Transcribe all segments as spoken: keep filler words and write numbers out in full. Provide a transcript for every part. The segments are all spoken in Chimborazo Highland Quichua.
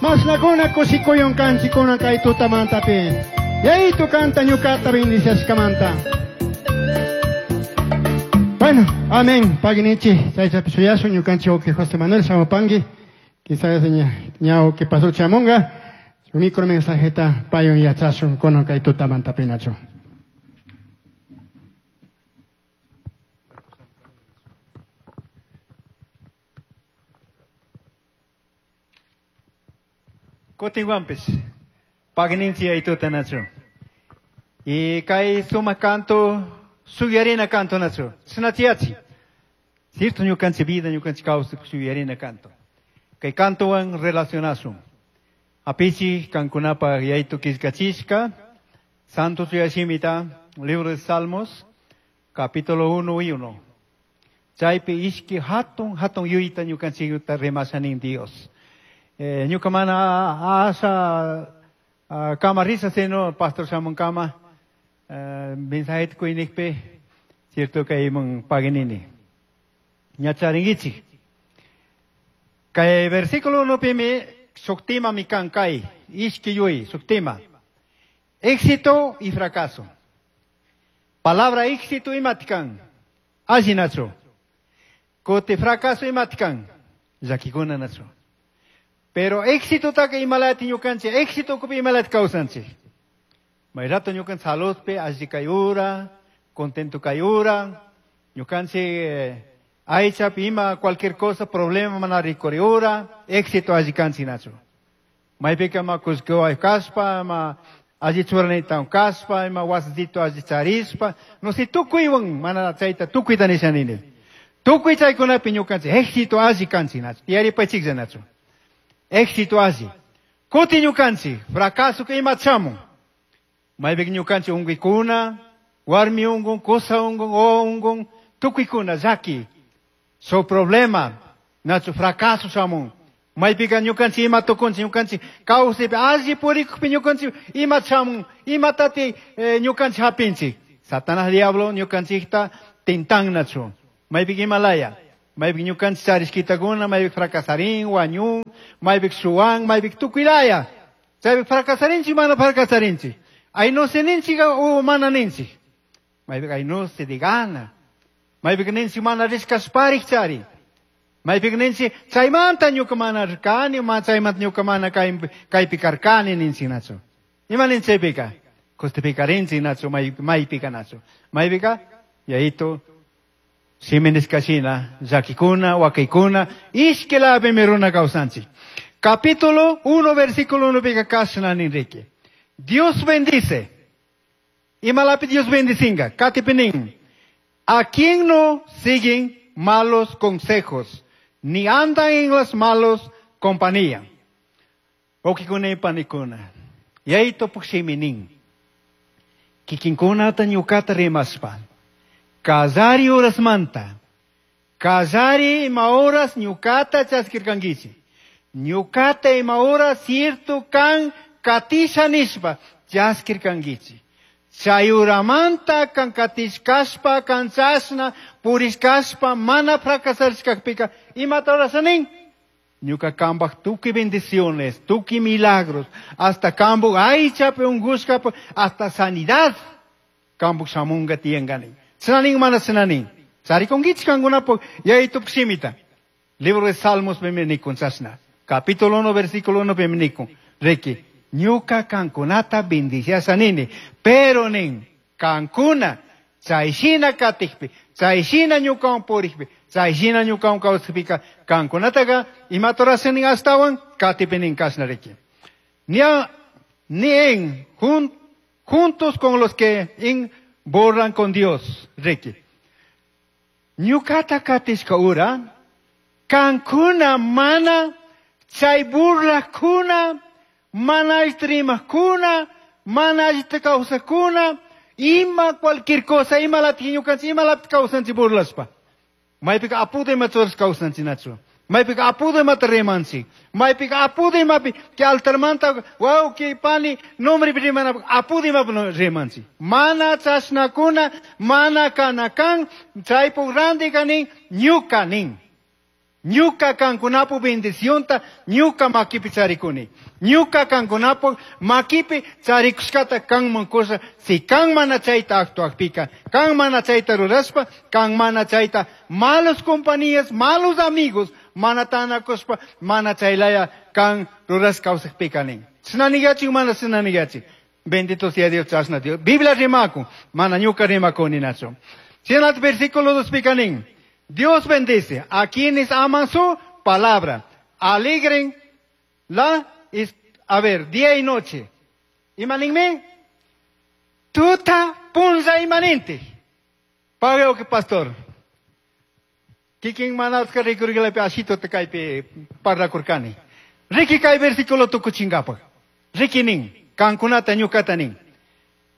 Mashnakuna kushikuyun kanchikuna kay tutamantapi. Yaytu kanta ñukata bendiciashkamanta. Bueno, amén. Paginichi, chaychapi shuyasun ñukanchik wawqi José Manuel shamupanki. Quizás ña que pasó chamunga. Su micro mensajeta payun yachasun kunan kay tutamantapinachu. Kutinwanpis, pagninchi aytuta nachu. Y kay suma canto, suyarina canto nachu. Sunatiachi. Cierto ñukanchi vida, ñukanchi kawsay suyarina canto. Kay cantowan relacionasun. Apichi kankunapa yaytu killkachishka, Santo Suyashimita, libro de Salmos, capítulo uno y uno. Chaypi ishki hatun hatun yuyta ñukanchikta rimashanin Dios. Eh, ñuka mana asa kama risa sino pastor shamun kama eh, mensajeta kuynikpi cierto kayman paginini. Ñacharinkichik. Kay versículo uno pimi suktima mi kan kay ishki yuy suktima. Éxito y fracaso. Palabra éxito imatikan. Alli nachu. Kuti fracaso imatikan. Llakikuna nachu. Pero éxito taka imalati ñukanchik, éxito kupi imalati kawsanchik. May rato ñukan saludpi, alli kayura, contento kayura, ñukanchik eh, aychapi ima cualquier cosa, problema mana rikuriura, éxito alli kanchik nachu. Maypika ma kullkiwan kaspa, ma alli churanaytawan kaspa, ima wasitito alli charispa, no si tukuywan mana chayta tukuyta nisha nini. Tukuy chaykunapi ñukanchik éxito alli kanchik nachu, tiyaripaychiklla nachu. Éxito alli. Kuti ñukanchik, fracaso que ima chamun. Maypik ñukanchik unquykuna, warmi unqun, kusa unqun, o unqun, tukuykuna llaki. So problema, nachu fracaso shamun. Maypika ñukanchik ima tukunchik, ñukanchik kawsaypi alli purikukpi ñukanchik ima chamun, imatati eh, ñukanchik hapinchik. Satanás diablo ñukanchikta tintan nachu. Maypik imalaya. Maypik ñukanchik charishkitakuna, maypik fracasarin, wañun, maypik suwan, maypik tukuylaya. Chaypik fracasarinchik, mana fracasarinchik. Aynuse ninchik o mana ninchik. Maypik aynuse de gana. Maypik ninchik mana rishkashparik chari. Maypik ninchik chaymanta ñuka mana rirkani, ma chaymanta ñuka mana kaypi karkani ninchik nachu. Ima ninchaypika? Justificarinchik nachu, maypika nachu. Maypika, yayito, Simeneskashina, llakikuna, wakaykuna, ishkilapimi runa kawsanchik. Capítulo uno, versículo uno, pika kashna ninriki. Dios bendice. Imalapi Dios bendicinga. Katipinin. A quien no siguen malos consejos, ni andan en las malos compañía. Okikuna y panikuna. Yayto pukshiminin. Kikinkuna ta ñukata rimaspa. Kallari horasmanta. Kallari ima horas ñukata chaskirkankichik. Ñukata ima horas cierto kan katisha nishpa chaskirkankichik. Chay uramanta kan katishkashpa, kan chashna, purishkashpa, mana fracasarishkakpika, imata horasanin? Ñuka kambaj tukuy bendiciones, tukuy milagros, hasta kambuj aychapi ungushkapi, hasta sanidad, kambuj shamunga tiyanganin. Sinanin mana sinanin. Charikunkichik kankunapuk yaytup shimita. Libro de Salmos piminikun chashna. Capítulo uno, versículo uno piminikun. Reki, ñuka kankunata bendiciasa nini. Pero nin, kankuna, chayshina katikpi, chayshina ñukawan purikpi, chayshina ñukawan kawsakpika, kankunataka imata rurasanin astawan katipinin kashna riki. Ni, ni en, jun, juntos con los que en borran con Dios, riki. Ñukata katishka ura, kankuna mana, chay burlakuna, mana rimakuna, mana kawsakuna, ima cualquier cosa, ima lati ñukanchik, ima lati kawsanchik burlashpa. Maypika apuda ima churash kawsanchik nachu. Maypika apuda imata rimanchik. Maypika apuda imapi, que altarmanta, wawqi, pani, nombre rimanapaq, apuda imapi rimanchik. Mana chashnakuna, mana kanakan, chaypuk ranti kanin, ñuka nin. Ñuka kankunapu bendicionta ñuka makipi charikuni. Ñuka kankunapu makipi charikushkata kanman kusha si kan mana chayta actuakpika, kan mana chayta rurashpa, kan mana chayta malos compañías, malos amigos, mana tanakushpa, mana chaylaya kan rurash kawsakpika nin. Chinanigachin mana chinanigachin. Bendito sea Dios, chashna Dios. Biblia rimakun, mana ñuka rimakuni nacho. Chinat versículo dos pika nin. Dios bendice a quienes aman su palabra. Alegren la, a ver, día y noche. Imaninme? Tuta punza imanente. Pague que pastor. Kikin manatska rikurgilapi ashito te kaypi parlakurkani. Riki kay versículo tukuchingapaj. Riki nin, kankunata ñukata nin.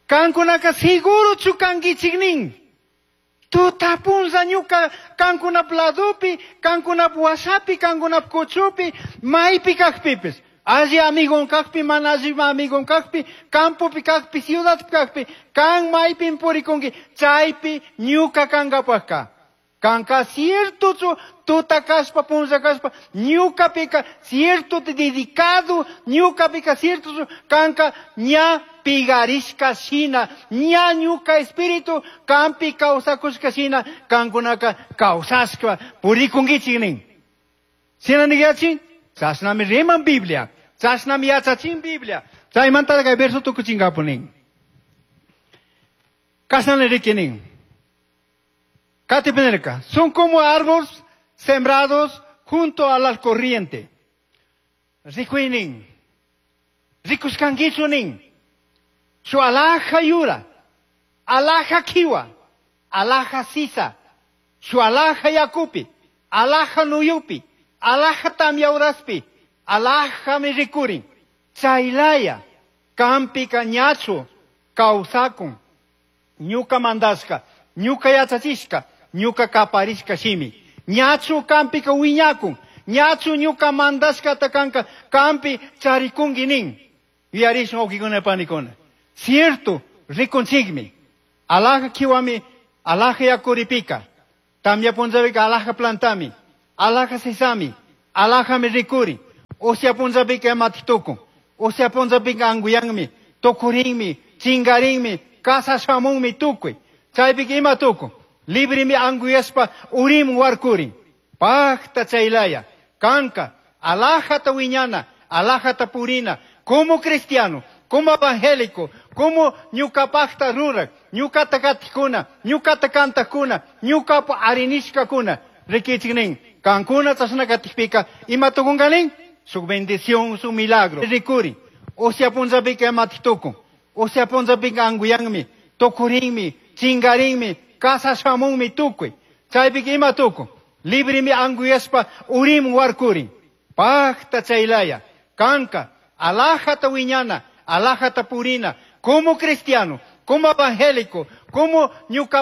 Kankunaka seguro chukankichik nin. Tuta punza ñuka kankunap ladopi, kankunap wasapi, kankunap kuchupi, maypi kaqpipis. Alli amigon kaqpi, mana alli amigon kaqpi, campopi kaqpi, ciudadpi kaqpi, kan maypin purikunki, chaypi ñuka kankapajka. Kanka cierto tuta kaspa, punza kaspa, ñukapika cierto dedicado, ñukapika cierto kanka ña pigarishka shina, ña ñuka espíritu kampi kawsakushka shina, kankunaka kawsashka purikunkichik nin. Shina niyachin, chashnami riman Biblia, chashnami yachachin Biblia. Chaymanta kay verso tukuchinkapu nin. Kashnami riki nin. Kati penerka, son como árboles sembrados junto a la corriente. Rikuinin, rikuskankichunin, su alhaja yura, alhaja kiwa, alhaja sisa, su alhaja yakupi, alhaja nuyupi, alhaja tamyauraspi, alhaja mirikurin, chaylaya, kampi kañachu, kawsakun, ñuka mandashka, ñuka yachachishka, ñuka kaparishka shimi. Ñachu kampika wiñakun, ñachu ñuka mandashka takanka kampi charikunki nin. Yuyarishun wawkikuna panikuna. Cierto, rikunchikmi. Alhaja kiwami, alhaja yakuripika. Tamya punllapika alhaja plantami, alhaja sisami, alhajami rikuri. Usya punllapika imatik tukun. Usya punllapika anguyanmi, tukurinmi, chingarinmi, kasa shamunmi tukuy. Chaypika ima tukun. Librimi anguyaspa urim warkurin. Pajta chaylaya, kanka, alhajata wiñana, alhajata purina, como cristiano, como evangélico, como ñukapajta rurak, ñukata katikuna, ñukata kantakuna, ñukapa arinishkakuna, rikichik nin, kankuna chashna katikpika, ima tukunka nin? Su bendición, su milagro. Rikuri, usya punllapika imatik tukun, usya punllapika anguyanmi, tukurinmi, chingarinmi, kasa shamunmi tukuy. Chaypika ima tukun, librimi anguyaspa urim warkurin. Pajta chaylaya, kanka, alhajata wiñana, alhajata purina, como cristiano, como evangélico, como ñuka